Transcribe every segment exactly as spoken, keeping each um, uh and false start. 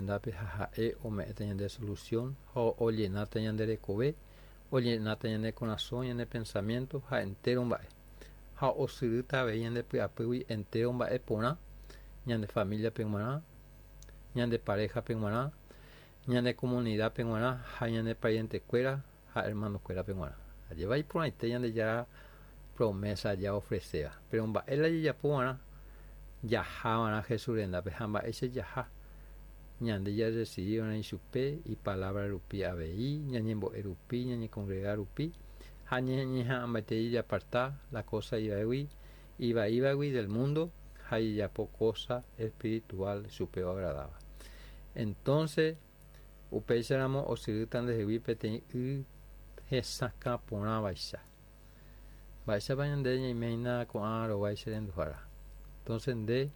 Jesús rendápe ha ha'e ome'ẽta ñande solución ha ollenáta ñande rekove, ollenáta ñane korasõ, ñane pensamiento ha entero mba'e. Ha osyrýta avei ñande py'apýgui entero mba'e porã ñande familia-pe g̃uarã, ñande pareja-pe g̃uarã, ñane comunidad-pe g̃uarã ha ñane pariente-kuéra ha hermano-kuérape g̃uarã. Ajépa iporãite Ñandejára promesa ja ofrecéva. Pero mba'e la jajapova'erã jahava'erã Jesús rendápe ha mba'éicha jaha ñande jarrecibiva'erã ichupe ipalabra rupi avei, ñañembo'e rupi, ñañecongrega rupi ha ñañeha'ãmbaite jajaparta la cosa ivaígui ivaívagui del mundo ha jajapo cosa espiritual chupe oagradáva. Entonces, upéicharamo osyrýta ndehegui peteĩ y hesakã porãvaicha. Mba'éichapa ñande ñaiméina ko'ã rovái che renduhára. Entonces nde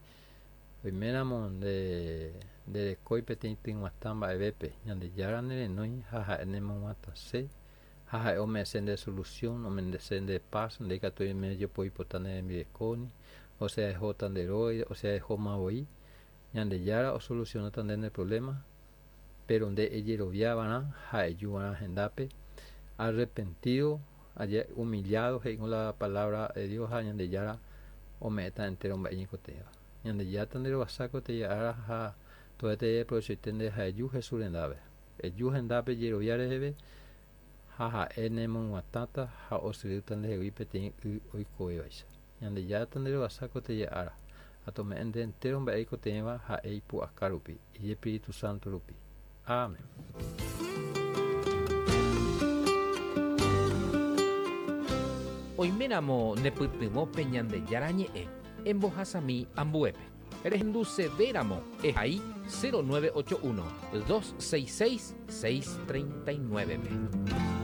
oiméramo nde nderekói peteĩ tyg̃uatã mba'evépe Ñandejára nerenói ha ha'e nemog̃uatãse ha ha'e ome'ẽse nde solución, ome'ẽse nde paz, nde ikatu oime jopoipota ne rembirekóni, osea ehóta nde róga, osea ehóma voi. Ñandejára osolucionáta nde ne problema, pero nde ejeroviava'erã ha ejuva'erã hendápe arrepentido, humillado he'i la palabra de Dios ha Ñandejára ome'ẽta entero mba'e ñeikotevẽva. Ñandejára nderovasa koteĩ ára ha to'ete aprovechoite nde ha eju Jesús rendápe. Eju hendápe jerovia reheve ha ha'e nemog̃uatãta ha osyrýta ndehegui peteĩ y oikovévaicha. Ñandejára nderovasa koteĩ ára ha tome'ẽ nde entero mba'e eikotevẽva ha'e ipu'aka rupi, Ijespíritu Santo rupi. Amén. Oiméramo nepytyvõpe Ñandejára ñe'ẽ embohasami ambuépe. Rehendusevéramo ehai cero nueve ocho uno, dos seis seis, seis treinta y nueve.